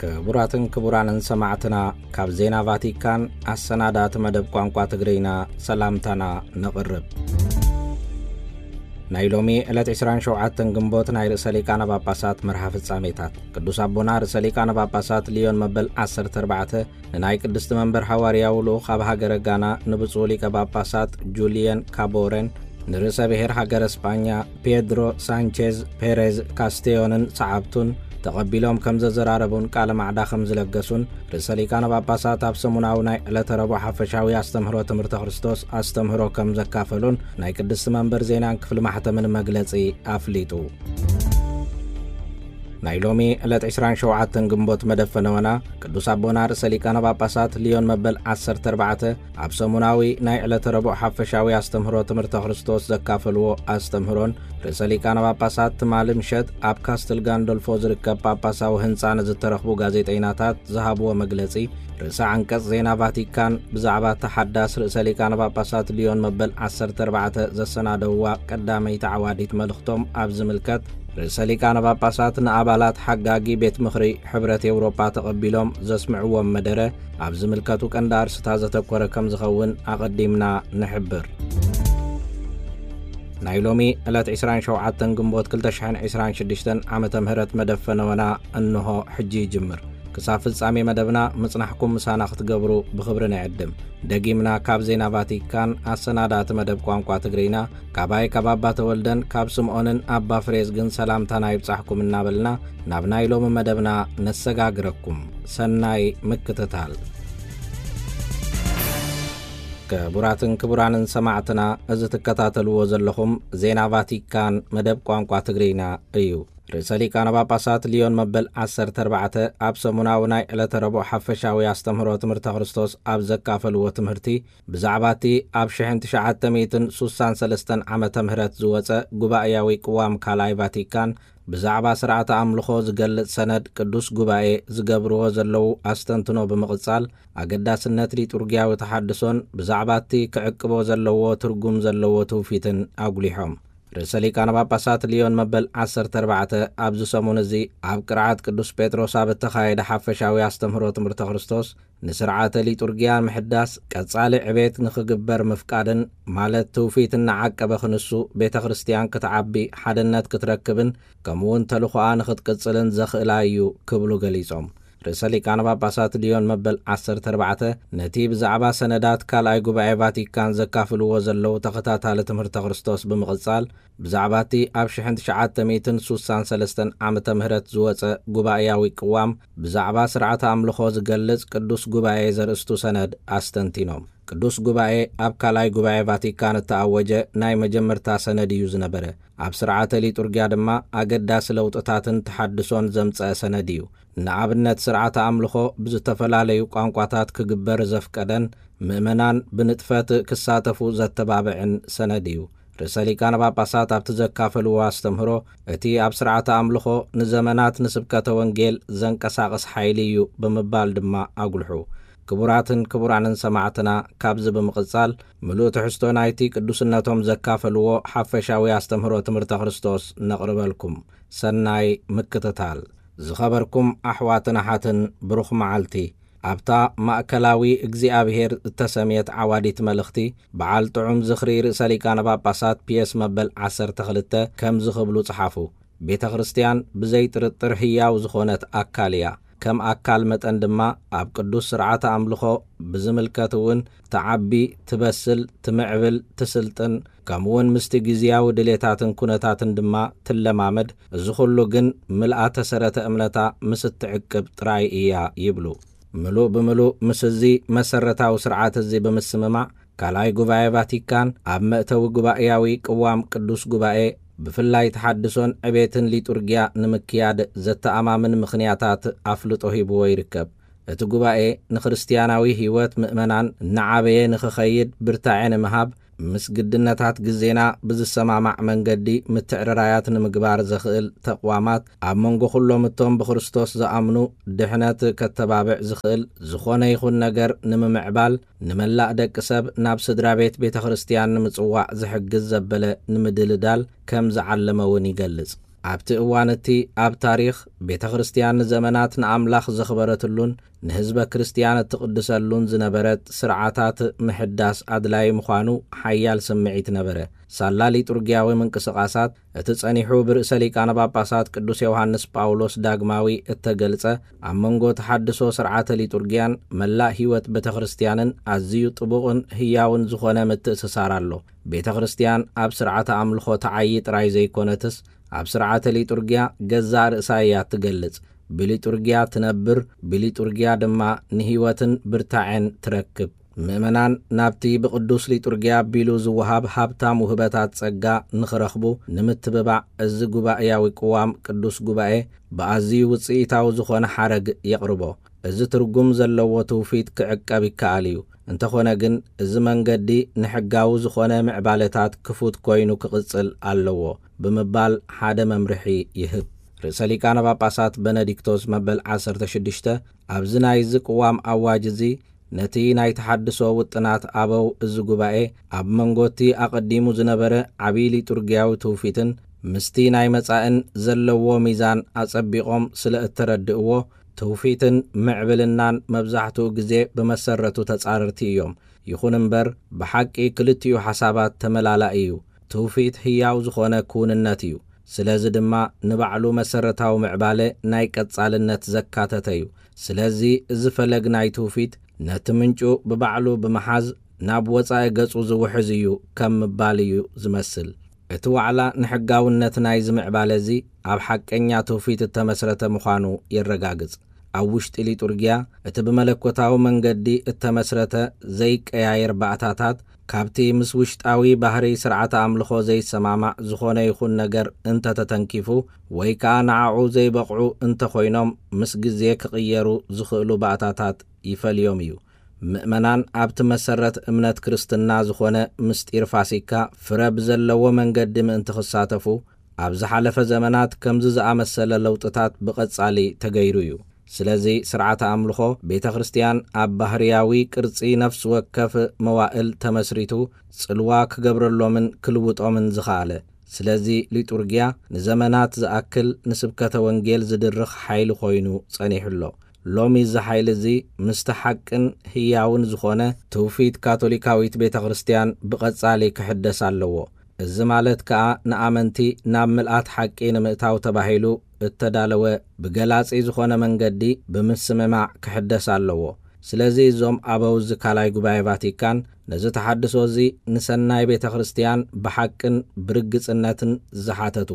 ክቡራትን ክቡራንን ሰማዕትና፣ ካብ ዜና ቫቲካን ኣሰናዳእቲ መደብ ቋንቋ ትግርኛ ሰላምታና ነቕርብ። ናይ ሎሚ ዕለት ዕስራን ሸውዓተን ግንቦት ናይ ርእሰ ሊቃነ ጳጳሳት መርሃ ፍጻሜታት። ቅዱስ ኣቦና ርእሰ ሊቃነ ጳጳሳት ሊዮን መበል ዓሰርተ ኣርባዕተ ንናይ ቅድስቲ መንበር ሃዋርያዊ ልኡኽ ኣብ ሃገረ ጋና ንብፁዕ ሊቀ ጳጳሳት ጁልየን ካቦረን፣ ንርእሰ ብሔር ሃገረ ስጳኛ ፔድሮ ሳንቼዝ ፔሬዝ ካስቴዮንን ሰዓብቱን ተቐቢሎም ከም ዘዘራረቡን ቃለ ማዕዳ ከም ዝለገሱን፣ ርእሰ ሊቃነ ጳጳሳት ኣብ ሰሙናዊ ናይ ዕለተ ረቡዕ ሓፈሻዊ ኣስተምህሮ ትምህርተ ክርስቶስ ኣስተምህሮ ከም ዘካፈሉን ናይ ቅድስቲ መንበር ዜናን ክፍሊ ማሕተምን መግለጺ ኣፍሊጡ። ናይ ሎሚ ዕለት ዕስራን ሸውዓተን ግንቦት መደብ ፈነወና፣ ቅዱስ ኣቦና ርእሰ ሊቃነ ጳጳሳት ሊዮን መበል ዓሰርተ ኣርባዕተ ኣብ ሰሙናዊ ናይ ዕለተ ረቡዕ ሓፈሻዊ ኣስተምህሮ ትምህርተ ክርስቶስ ዘካፈልዎ ኣስተምህሮን፣ ርእሰ ሊቃነ ጳጳሳት ትማሊ ምሸት ኣብ ካስትል ጋንዶልፎ ዝርከብ ጳጳሳዊ ህንጻ ንዝተረኽቡ ጋዜጠይናታት ዝሃብዎ መግለጺ፣ ርእሰ ዓንቀጽ ዜና ቫቲካን ብዛዕባ እታ ሓዳስ ርእሰ ሊቃነ ጳጳሳት ሊዮን መበል ዓሰርተ ኣርባዕተ ዘሰናደውዋ ቀዳመይቲ ዓዋዲት መልእኽቶም ኣብ ዝምልከት፣ ርእሰ ሊቃነ ጳጳሳት ንኣባላት ሓጋጊ ቤት ምኽሪ ሕብረት ኤውሮጳ ተቐቢሎም ዘስምዕዎም መደረ ኣብ ዝምልከቱ ቀንዲ ኣርስታት ዘተኮረ ከም ዝኸውን ኣቐዲምና ንሕብር። ናይ ሎሚ ዕለት ዕስራን ሸውዓተን ግንቦት ክልተ ሽሕን ዕስራን ሽዱሽተን ዓመተ ምህረት መደብ ፈነወና እንሆ ሕጂ ይጅምር። ክሳብ ፍጻሜ መደብና ምጽናሕኩም ምሳና ክትገብሩ ብኽብሪ ንዕድም። ደጊምና ካብ ዜና ቫቲካን ኣሰናዳእቲ መደብ ቋንቋ ትግርኛ፣ ካባይ ካብ ኣባ ተወልደን ካብ ስምዖንን ኣባ ፍሬዝግን ሰላምታና ይብጻሕኩም እናበልና ናብ ናይ ሎሚ መደብና ነሰጋግረኩም። ሰናይ ምክትታል። ክቡራትን ክቡራንን ሰማዕትና፣ እዚ ትከታተልዎ ዘለኹም ዜና ቫቲካን መደብ ቋንቋ ትግርኛ እዩ። ርእሰ ሊቃነ ጳጳሳት ሊዮን መበል ዓሰርተ ኣርባዕተ ኣብ ሰሙናዊ ናይ ዕለተ ረቡዕ ሓፈሻዊ ኣስተምህሮ ትምህርተ ክርስቶስ ኣብ ዘካፈልዎ ትምህርቲ፣ ብዛዕባ እቲ ኣብ ሽሕን ትሽዓተ ሚእትን ሱሳን ሰለስተን ዓመተ ምህረት ዝወጸ ጉባኤያዊ ቅዋም ካልኣይ ቫቲካን ብዛዕባ ስርዓተ ኣምልኾ ዝገልጽ ሰነድ ቅዱስ ጉባኤ ዝገብርዎ ዘለዉ ኣስተንትኖ ብምቕጻል፣ ኣገዳስነት ሊጡርጊያዊ ተሓድሶን ብዛዕባ እቲ ክዕቅቦ ዘለዎ ትርጉም ዘለዎ ትውፊትን ኣጉሊሖም። ርእሰ ሊቃነ ጳጳሳት ሊዮን መበል ዓሰርተ ኣርባዕተ ኣብዚ ሰሙን እዚ ኣብ ቅርዓት ቅዱስ ጴጥሮስ ኣብ እተኻየደ ሓፈሻዊ ኣስተምህሮ ትምህርተ ክርስቶስ፣ ንስርዓተ ሊጡርጊያ ምሕዳስ ቀጻሊ ዕቤት ንኽግበር ምፍቃድን፣ ማለት ትውፊት እናዓቀበ ክንሱ ቤተ ክርስቲያን ክትዓቢ፣ ሓድነት ክትረክብን፣ ከምኡውን ተልኾኣ ንኽትቅጽልን ዘኽእላ እዩ ክብሉ ገሊጾም። ርእሰ ሊቃነ ጳጳሳት ሊዮን መበል ዓሰርተ ኣርባዕተ ነቲ ብዛዕባ ሰነዳት ካልኣይ ጉባኤ ቫቲካን ዘካፍልዎ ዘለዉ ተኸታታሊ ትምህርተ ክርስቶስ ብምቕጻል፣ ብዛዕባ እቲ ኣብ ሽሕን ትሽዓተ ሚእትን ሱሳን ሰለስተን ዓመተ ምህረት ዝወጸ ጉባኤያዊ ቅዋም ብዛዕባ ስርዓተ ኣምልኾ ዝገልጽ ቅዱስ ጉባኤ ዘርእስቱ ሰነድ ኣስተንቲኖም። ቅዱስ ጉባኤ ኣብ ካልኣይ ጉባኤ ቫቲካን እተኣወጀ ናይ መጀመርታ ሰነድ እዩ ዝነበረ። ኣብ ስርዓተ ሊጡርጊያ ድማ ኣገዳሲ ለውጥታትን ተሓድሶን ዘምጸአ ሰነድ እዩ። ንኣብነት፣ ስርዓተ ኣምልኾ ብዝተፈላለዩ ቋንቋታት ክግበር ዘፍቀደን ምእመናን ብንጥፈት ክሳተፉ ዘተባብዕን ሰነድ እዩ። ርእሰ ሊቃነ ጳጳሳት ኣብቲ ዘካፈልዎ ኣስተምህሮ፣ እቲ ኣብ ስርዓተ ኣምልኾ ንዘመናት ንስብከተ ወንጌል ዘንቀሳቕስ ሓይሊ እዩ ብምባል ድማ ኣጉልሑ። ክቡራትን ክቡራንን ሰማዕትና፣ ካብዚ ብምቕጻል ምሉእ ትሕዝቶ ናይቲ ቅዱስነቶም ዘካፈልዎ ሓፈሻዊ ኣስተምህሮ ትምህርተ ክርስቶስ ነቕርበልኩም። ሰናይ ምክትታል። ዝኸበርኩም ኣሕዋትን ኣሓትን፣ ብሩኽ መዓልቲ። ኣብታ ማእከላዊ እግዚኣብሔር እተሰምየት ዓዋዲት መልእኽቲ፣ በዓል ጥዑም ዝኽሪ ርእሰ ሊቃነ ጳጳሳት ፒየስ መበል ዓሰርተ ክልተ ከምዚ ክብሉ ጸሓፉ። ቤተ ክርስቲያን ብዘይ ጥርጥር ህያው ዝኾነት ኣካል እያ። ከም ኣካል መጠን ድማ ኣብ ቅዱስ ስርዓተ ኣምልኾ ብዝምልከት እውን ትዓቢ፣ ትበስል፣ ትምዕብል፣ ትስልጥን፣ ከምኡውን ምስቲ ግዝያዊ ድሌታትን ኩነታትን ድማ ትለማመድ። እዚ ኹሉ ግን ምልኣተ ሰረተ እምነታ ምስ እትዕቅብ ጥራይ እያ ይብሉ። ምሉእ ብምሉእ ምስ እዚ መሰረታዊ ስርዓት እዚ ብምስምማዕ፣ ካልኣይ ጉባኤ ቫቲካን ኣብ መእተዊ ጉባኤያዊ ቅዋም ቅዱስ ጉባኤ፣ ብፍላይ ተሓድሶን ዕቤትን ሊጡርጊያ ንምክያድ ዘተኣማምን ምኽንያታት ኣፍልጦ ሂብዎ ይርከብ። እቲ ጉባኤ ንክርስትያናዊ ህይወት ምእመናን እናዓበየ ንኽኸይድ ብርታዐ ንምሃብ፣ ምስ ግድነታት ግዜና ብዝሰማማዕ መንገዲ ምትዕርራያት ንምግባር ዘኽእል ተቕዋማት፣ ኣብ መንጎ ኩሎም እቶም ብክርስቶስ ዝኣምኑ ድሕነት ከተባብዕ ዝኽእል ዝኾነ ይኹን ነገር ንምምዕባል፣ ንመላእ ደቂ ሰብ ናብ ስድራ ቤት ቤተ ክርስቲያን ንምጽዋዕ ዝሕግዝ ዘበለ ንምድልዳል ከም ዝዓለመ እውን ይገልጽ። ኣብቲ እዋን እቲ ኣብ ታሪኽ ቤተ ክርስቲያን ንዘመናት ንኣምላኽ ዘኽበረትሉን ንህዝበ ክርስቲያን እትቕድሰሉን ዝነበረት ስርዓታት ምሕዳስ ኣድላዪ ምዃኑ ሓያል ስምዒት ነበረ። ሳላ ሊጡርጊያዊ ምንቅስቓሳት እቲ ጸኒሑ ብርእሰ ሊቃነ ጳጳሳት ቅዱስ ዮሃንስ ጳውሎስ ዳግማዊ እተገልጸ ኣብ መንጎ ተሓድሶ ስርዓተ ሊጡርጊያን መላእ ህይወት ቤተ ክርስቲያንን ኣዝዩ ጥቡቕን ህያውን ዝኾነ ምትእስሳር ኣሎ። ቤተ ክርስቲያን ኣብ ስርዓተ ኣምልኾ ተዓዪ ጥራይ ዘይኮነትስ ኣብ ስርዓተ ሊጡርጊያ ገዛእ ርእሳ እያ ትገልጽ። ብሊጡርጊያ ትነብር፣ ብሊጡርጊያ ድማ ንህይወትን ብርታዐን ትረክብ። ምእመናን ናብቲ ብቅዱስ ሊጡርጊያ ኣቢሉ ዝወሃብ ሃብታም ውህበታት ጸጋ ንኽረኽቡ ንምትብባዕ፣ እዚ ጉባኤያዊ ቅዋም ቅዱስ ጉባኤ ብኣዝዩ ውጽኢታዊ ዝኾነ ሓረግ የቕርቦ። እዚ ትርጉም ዘለዎ ትውፊት ክዕቀብ ይከኣል እዩ። እንተኾነ ግን፣ እዚ መንገዲ ንሕጋዊ ዝኾነ ምዕባለታት ክፉት ኮይኑ ክቕጽል ኣለዎ ብምባል ሓደ መምርሒ ይህብ። ርእሰ ሊቃነ ጳጳሳት በነዲክቶስ መበል ዓሰርተ ሽዱሽተ ኣብዚ ናይዚ ቅዋም ኣዋጅ እዚ ነቲ ናይ ተሓድሶ ውጥናት ኣበው እዚ ጉባኤ ኣብ መንጎቲ ኣቐዲሙ ዝነበረ ዓብዪ ሊጡርጊያዊ ትውፊትን ምስቲ ናይ መጻእን ዘለዎ ሚዛን ኣጸቢቖም ስለ እተረድእዎ፣ ትውፊትን ምዕብልናን መብዛሕትኡ ግዜ ብመሰረቱ ተጻረርቲ እዮም። ይኹን እምበር፣ ብሓቂ ክልቲኡ ሓሳባት ተመላላኢ እዩ። ትውፊት ህያው ዝኾነ ክውንነት እዩ። ስለዚ ድማ ንባዕሉ መሰረታዊ ምዕባለ ናይ ቀጻልነት ዘካተተ እዩ። ስለዚ እዚ ፈለግ ናይ ትውፊት ነቲ ምንጩ ብባዕሉ ብምሓዝ ናብ ወጻኢ ገጹ ዝውሕዝ እዩ ከም ምባል እዩ ዝመስል። እቲ ዋዕላ ንሕጋውነት ናይዚ ምዕባለ እዚ ኣብ ሓቀኛ ትውፊት እተመስረተ ምዃኑ የረጋግጽ። ኣብ ውሽጢ ሊጡርጊያ እቲ ብመለኮታዊ መንገዲ እተመስረተ ዘይቀያየር ባእታታት ካብቲ ምስ ውሽጣዊ ባህሪ ስርዓተ ኣምልኾ ዘይሰማማዕ ዝኾነ ይኹን ነገር እንተተተንኪፉ ወይ ከኣ ንዓኡ ዘይበቕዑ እንተኾይኖም ምስ ግዜ ክቕየሩ ዝኽእሉ ባእታታት ይፈልዮም እዩ። ምእመናን ኣብቲ መሰረት እምነት ክርስትና ዝኾነ ምስጢር ፋሲካ ፍረ ብዘለዎ መንገዲ ምእንቲ ክሳተፉ ኣብ ዝሓለፈ ዘመናት ከምዚ ዝኣመሰለ ለውጥታት ብቐጻሊ ተገይሩ እዩ። ስለዚ ስርዓተ ኣምልኾ ቤተ ክርስቲያን ኣብ ባህርያዊ ቅርጺ ነፍሲ ወከፍ መዋእል ተመስሪቱ ጽልዋ ክገብረሎምን ክልውጦምን ዝኸኣለ። ስለዚ ሊጡርጊያ ንዘመናት ዝኣክል ንስብከተ ወንጌል ዝድርኽ ሓይሊ ኮይኑ ጸኒሑ ኣሎ። ሎሚ እዚ ሓይሊ እዚ ምስቲ ሓቅን ህያውን ዝኾነ ትውፊት ካቶሊካዊት ቤተ ክርስቲያን ብቐጻሊ ክሕደስ ኣለዎ። እዚ ማለት ከኣ ንኣመንቲ ናብ ምልኣት ሓቂ ንምእታው ተባሂሉ እተዳለወ ብገላጺ ዝኾነ መንገዲ ብምስምማዕ ክሕደስ ኣለዎ። ስለዚ እዞም ኣበው እዚ ካልኣይ ጉባኤ ቫቲካን ነዚ ተሓድሶ እዚ ንሰናይ ቤተ ክርስቲያን ብሓቅን ብርግጽነትን ዝሓተቱ፣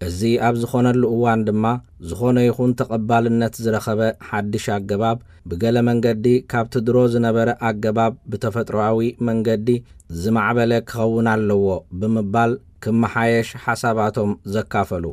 እዚ ኣብ ዝኾነሉ እዋን ድማ ዝኾነ ይኹን ተቐባልነት ዝረኸበ ሓድሽ ኣገባብ ብገለ መንገዲ ካብቲ ድሮ ዝነበረ ኣገባብ ብተፈጥሮኣዊ መንገዲ ዝማዕበለ ክኸውን ኣለዎ ብምባል ክመሓየሽ ሓሳባቶም ዘካፈሉ።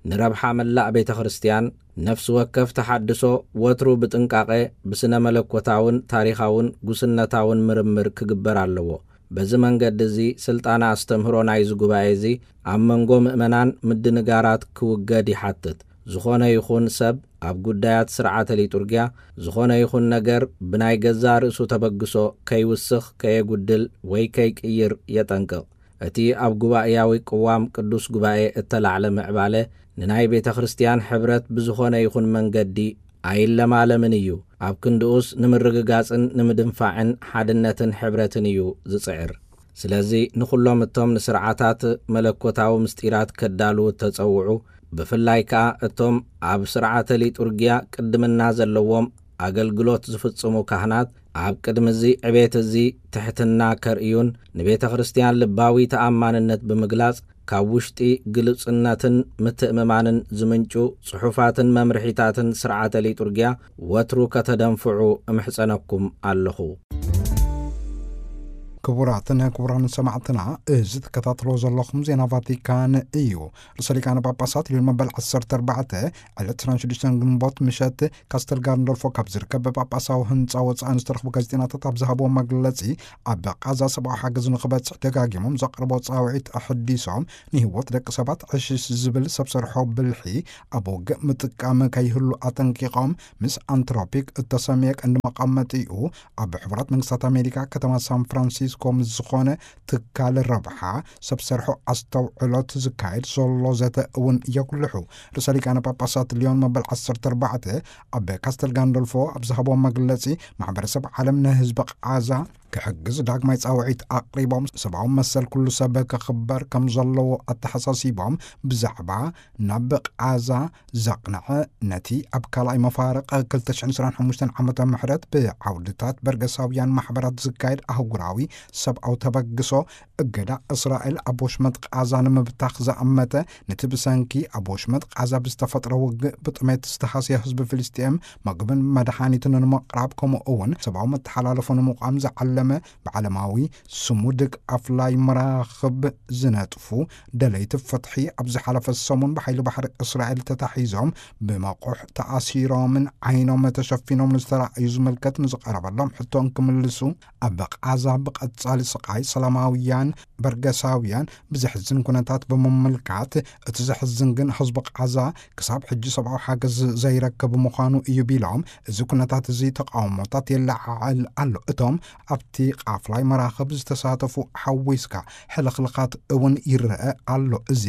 ንረብሓ መላእ ቤተ ክርስቲያን ነፍሲ ወከፍ ተሓድሶ ወትሩ ብጥንቃቐ ብስነ መለኮታውን ታሪኻውን ጉስነታውን ምርምር ክግበር ኣለዎ። በዚ መንገዲ እዚ ስልጣነ ኣስተምህሮ ናይዚ ጉባኤ እዚ ኣብ መንጎ ምእመናን ምድንጋራት ክውገድ ይሓትት። ዝኾነ ይኹን ሰብ ኣብ ጉዳያት ስርዓተ ሊጡርጊያ ዝኾነ ይኹን ነገር ብናይ ገዛእ ርእሱ ተበግሶ ከይውስኽ፣ ከየጉድል ወይ ከይቅይር የጠንቅቕ። እቲ ኣብ ጉባኤያዊ ቅዋም ቅዱስ ጉባኤ እተላዕለ ምዕባለ ንናይ ቤተ ክርስቲያን ሕብረት ብዝኾነ ይኹን መንገዲ ኣይለማለምን እዩ። ኣብ ክንድኡስ ንምርግጋጽን ንምድንፋዕን ሓድነትን ሕብረትን እዩ ዝጽዕር። ስለዚ ንኹሎም እቶም ንስርዓታት መለኮታዊ ምስጢራት ከዳልዉ እተጸውዑ፣ ብፍላይ ከኣ እቶም ኣብ ስርዓተ ሊጡርጊያ ቅድምና ዘለዎም ኣገልግሎት ዝፍጽሙ ካህናት፣ ኣብ ቅድሚ እዚ ዕቤት እዚ ትሕትና ከርእዩን ንቤተ ክርስቲያን ልባዊ ተኣማንነት ብምግላጽ ካብ ውሽጢ ግሉጽነትን ምትእምማንን ዝምንጩ ጽሑፋትን መምርሒታትን ስርዓተ ሊጡርጊያ ወትሩ ከተደንፍዑ እምሕጸነኩም ኣለኹ። ክቡራትን ክቡራን ሰማዕትና፣ እዚ ትከታተሎ ዘለኹም ዜና ቫቲካን እዩ። ርእሰ ሊቃነ ጳጳሳት ሊዮን መበል ዓሰርተ ኣርባዕተ ዕለት ዕስራን ሽዱሽተን ግንቦት ምሸት ካስተል ጋንዶልፎ ካብ ዝርከብ ጳጳሳዊ ህንጻ ወጻኢ ንዝተረኽቡ ጋዜጠኛታት ኣብ ዝሃብዎ መግለጺ፣ ኣብ ቃዛ ሰብኣዊ ሓገዝ ንኽበጽሕ ደጋጊሞም ዘቕርቦ ጻውዒት ኣሐዲሶም፣ ንህይወት ደቂ ሰባት ዕሽሽ ዝብል ሰብ ሰርሖ ብልሒ ኣብ ውግእ ምጥቃም ከይህሉ ኣጠንቂቖም፣ ምስ ኣንትሮፒክ እተሰምየ ቀንዲ መቐመጢኡ ኣብ ሕቡራት መንግስታት ኣሜሪካ ከተማ ሳን ፍራንሲስኮ ኮም ዝኾነ ትካል ረብሓ ሰብ ሰርሖ ኣስተውዕሎት ዝካየድ ዘሎ ዘተ እውን የጉልሑ። ርእሰ ሊቃነ ጳጳሳት ሊዮን መበል ዓሰርተ ኣርባዕተ ኣብ ካስተል ጋንዶልፎ ኣብ ዝሃቦ መግለጺ፣ ማሕበረሰብ ዓለም ንህዝቢ ቃዛ ክሕግዝ ዳግማይ ጻውዒት ኣቕሪቦም፣ ሰብኣዊ መሰል ኩሉ ሰብ ክኽበር ከም ዘለዎ ኣተሓሳሲቦም፣ ብዛዕባ ናብ ቃዛ ዘቕንዐ፣ ነቲ ኣብ ካልኣይ መፋርቕ ክልተ ሽሕን ዕስራን ሓሙሽተን ዓመተ ምሕረት ብዓውድታት በርገሳውያን ማሕበራት ዝካየድ ኣህጉራዊ ሰብኣዊ ተበግሶ፣ እገዳ እስራኤል ኣብ ወሽመጥ ቃዛ ንምብታኽ ዘኣመተ፣ ነቲ ብሰንኪ ኣብ ወሽመጥ ቃዛ ብዝተፈጥረ ውግእ ብጥሜት ዝተሃስየ ህዝቢ ፍልስጤም መግብን መድሃኒትን ንምቕራብ፣ ከምኡ እውን ሰብኣዊ መተሓላለፎ ንምቋም ዝዓለመ ብዓለማዊ ስሙድግ ኣፍላይ መራኽብ ዝነጥፉ ደለይቲ ፍትሒ ኣብ ዝሓለፈ ሰሙን ብሓይሊ ባሕሪ እስራኤል ተታሒዞም ብመቑሕ ተኣሲሮምን ዓይኖም ተሸፊኖም ንዝተራእዩ ዝምልከት ንዝቐረበሎም ሕቶ እንክምልሱ፣ ኣብ ቃዛ ብቐጻሊ ስቓይ ሰላማውያን በርገሳውያን ብዘሕዝን ኩነታት ብምምልካት፣ እቲ ዘሕዝን ግን ህዝቢ ቃዛ ክሳብ ሕጂ ሰብኣዊ ሓገዝ ዘይረክብ ምዃኑ እዩ ቢሎም፣ እዚ ኩነታት እዚ ተቃውሞታት የለዓዕል ኣሎ። እቶም ኣብቲ ቃፍላይ መራኽብ ዝተሳተፉ ሓዊስካ ሕልኽልኻት እውን ይረአ ኣሎ። እዚ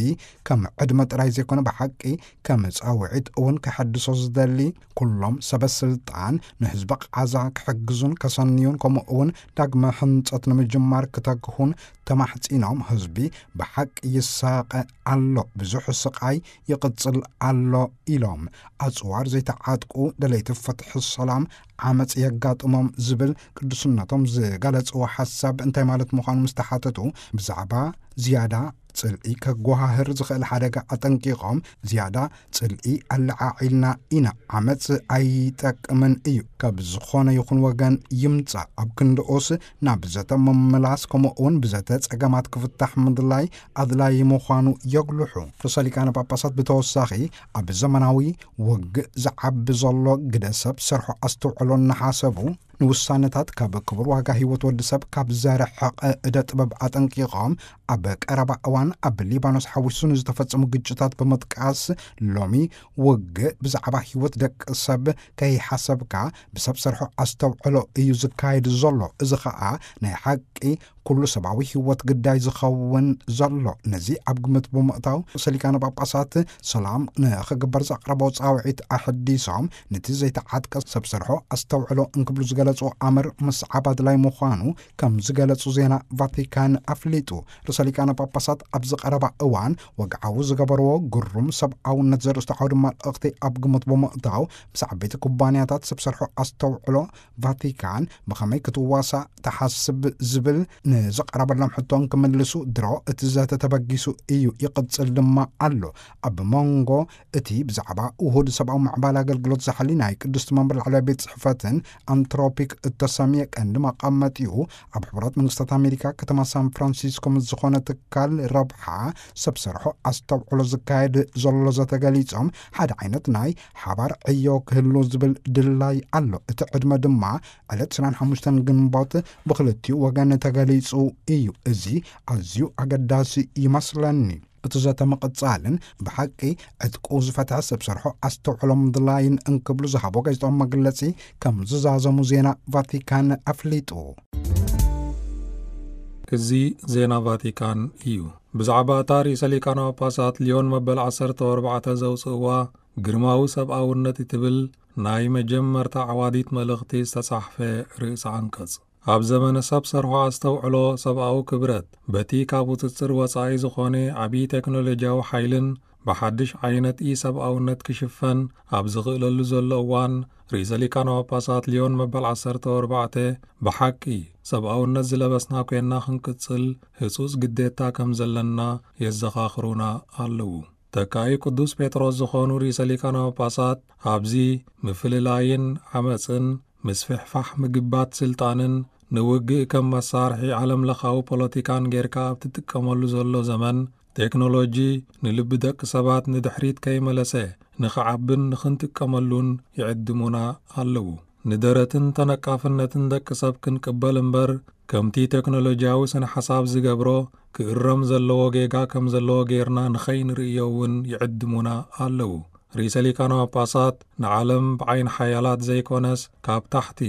ከም ዕድመ ጥራይ ዘይኮነ ብሓቂ ከም ጻውዒት እውን ከሐድሶ ዝደሊ፣ ኩሎም ሰበ ስልጣን ንህዝቢ ቃዛ ክሕግዙን ከሰንዩን ከምኡ እውን ዳግመ ህንጸት ንምጅማር ክተግሁን ተማሕጺኖም፣ ህዝቢ ብሓቂ ይሳቐ ኣሎ፣ ብዙሕ ስቓይ ይቕጽል ኣሎ ኢሎም። ኣጽዋር ዘይተዓጥቁ ደለይቲ ፍትሒ ሰላም ዓመጽ የጋጥሞም ዝብል ቅዱስነቶም ዝገለጽዎ ሓሳብ እንታይ ማለት ምዃኑ ምስ ተሓተቱ፣ ብዛዕባ ዝያዳ ጽልኢ ከጓሃህር ዝኽእል ሓደጋ ኣጠንቂቖም፣ ዝያዳ ጽልኢ ኣለዓዒልና ኢና፣ ዓመጽ ኣይጠቅምን እዩ፣ ካብ ዝኾነ ይኹን ወገን ይምጻእ ኣብ ክንድኡስ ናብ ዘተ ምምላስ፣ ከምኡ እውን ብዘተ ጸገማት ክፍታሕ ምድላይ ኣድላዪ ምዃኑ የጉልሑ። ርእሰ ሊቃነ ጳጳሳት ብተወሳኺ፣ ኣብ ዘመናዊ ውግእ ዝዓቢ ዘሎ ግደ ሰብ ሰርሖ ኣስተውዕሎ እናሓሰቡ፣ ንውሳነታት ካብ ክቡር ዋጋ ህይወት ወዲ ሰብ ካብ ዘርሕቕ እደ ጥበብ ኣጠንቂቖም፣ ኣብ ቀረባ እዋን ኣብ ሊባኖስ ሓዊሱ ንዝተፈጸሙ ግጭታት ብምጥቃስ፣ ሎሚ ውግእ ብዛዕባ ህይወት ደቂ ሰብ ከይሓሰብካ ብሰብ ሰርሖ ኣስተውዕሎ እዩ ዝካየድ ዘሎ። እዚ ኸኣ ናይ ሓቂ ኩሉ ሰብኣዊ ህይወት ግዳይ ዝኸውን ዘሎ። ነዚ ኣብ ግምት ብምእታው፣ ርእሰ ሊቃነ ጳጳሳት ሰላም ንኽግበር ዘቕረቦ ጻውዒት ኣሐዲሶም፣ ነቲ ዘይተዓጥቀ ሰብ ሰርሖ ኣስተውዕሎ እንክብሉ ዝገለጹ ኣምር ምስዓብ ኣድላይ ምዃኑ ከም ዝገለጹ ዜና ቫቲካን ኣፍሊጡ። ርእሰ ሊቃነ ጳጳሳት ኣብ ዝቐረባ እዋን ወግዓዊ ዝገበርዎ ግሩም ሰብኣውነት ዘርእስቱ ዓውዲ መልእኽቲ ኣብ ግምት ብምእታው፣ ምስ ዓበይቲ ኩባንያታት ሰብ ሰርሖ ኣስተውዕሎ ቫቲካን ብኸመይ ክትዋሳእ ትሓስብ ዝብል ንዝቐረበሎም ሕቶ እንክምልሱ፣ ድሮ እቲ ዘተ ተበጊሱ እዩ፣ ይቕጽል ድማ ኣሎ። ኣብ መንጎ እቲ ብዛዕባ ውሁድ ሰብኣዊ ምዕባለ ኣገልግሎት ዝሓሊ ናይ ቅድስቲ መንበር ላዕለዋይ ቤት ጽሕፈትን ኣንትሮፒክ እተሰምየ ቀንዲ መቐመጢኡ ኣብ ሕቡራት መንግስታት ኣሜሪካ ከተማ ሳን ፍራንሲስኮ ምስ ዝኾነ ትካል ረብሓ ሰብ ሰርሖ ኣስተውዕሎ ዝካየድ ዘሎ ዘተ ገሊጾም፣ ሓደ ዓይነት ናይ ሓባር ዕዮ ክህሉ ዝብል ድላይ ኣሎ። እቲ ዕድመ ድማ ዕለት ዕስራን ሓሙሽተን ግንቦት ብኽልቲኡ ወገን ተገሊጹ እዩ። እዚ ኣዝዩ ኣገዳሲ ይመስለኒ። እቲ ዘተ ምቕጻልን ብሓቂ ዕጥቁ ዝፈትሐ ሰብ ሰርሖ ኣስተውዕሎ ምድላይን እንክብሉ ዝሃቦ ጋዜጣዊ መግለጺ ከም ዝዛዘሙ ዜና ቫቲካን ኣፍሊጡ። እዚ ዜና ቫቲካን እዩ። ብዛዕባ እታ ርእሰ ሊቃነ ጳጳሳት ሊዮን መበል ዓሰርተ ኣርባዕተ ዘውጽእዋ ግርማዊ ሰብኣውነት እትብል ናይ መጀመርታ ዓዋዲት መልእኽቲ ዝተጻሕፈ ርእሰ ዓንቀጽ። ኣብ ዘመነ ሰብ ሰርሖ ኣስተውዕሎ ሰብኣዊ ክብረት በቲ ካብ ቁጽጽር ወጻኢ ዝኾነ ዓቢ ቴክኖሎጂያዊ ሓይልን ብሓድሽ ዓይነት ኢ-ሰብኣውነት ክሽፈን ኣብ ዝኽእለሉ ዘሎ እዋን፣ ርእሰ ሊቃነ ጳጳሳት ሊዮን መበል ዓሰርተ ኣርባዕተ ብሓቂ ሰብኣውነት ዝለበስና ኮይንና ክንቅጽል ህጹጽ ግዴታ ከም ዘለና የዘኻኽሩና ኣለዉ። ተካኢ ቅዱስ ጴጥሮስ ዝኾኑ ርእሰ ሊቃነ ጳጳሳት ኣብዚ ምፍልላይን ዓመጽን ምስፍሕፋሕ ምግባት ስልጣንን ንውግእ ከም መሳርሒ ዓለምለኻዊ ፖለቲካን ጌርካ ኣብ ትጥቀመሉ ዘሎ ዘመን፣ ቴክኖሎጂ ንልቢ ደቂ ሰባት ንድሕሪት ከይመለሰ ንኽዓብን ንኽንጥቀመሉን ይዕድሙና ኣለዉ። ንደረትን ተነቃፍነትን ደቂ ሰብ ክንቅበል እምበር፣ ከምቲ ቴክኖሎጂያዊ ስነ ሓሳብ ዝገብሮ ክእረም ዘለዎ ጌጋ ከም ዘለዎ ጌርና ንኸይንርእዮ እውን ይዕድሙና ኣለዉ። ርእሰ ሊቃነ ጳጳሳት ንዓለም ብዓይኒ ሓያላት ዘይኮነስ ካብ ታሕቲ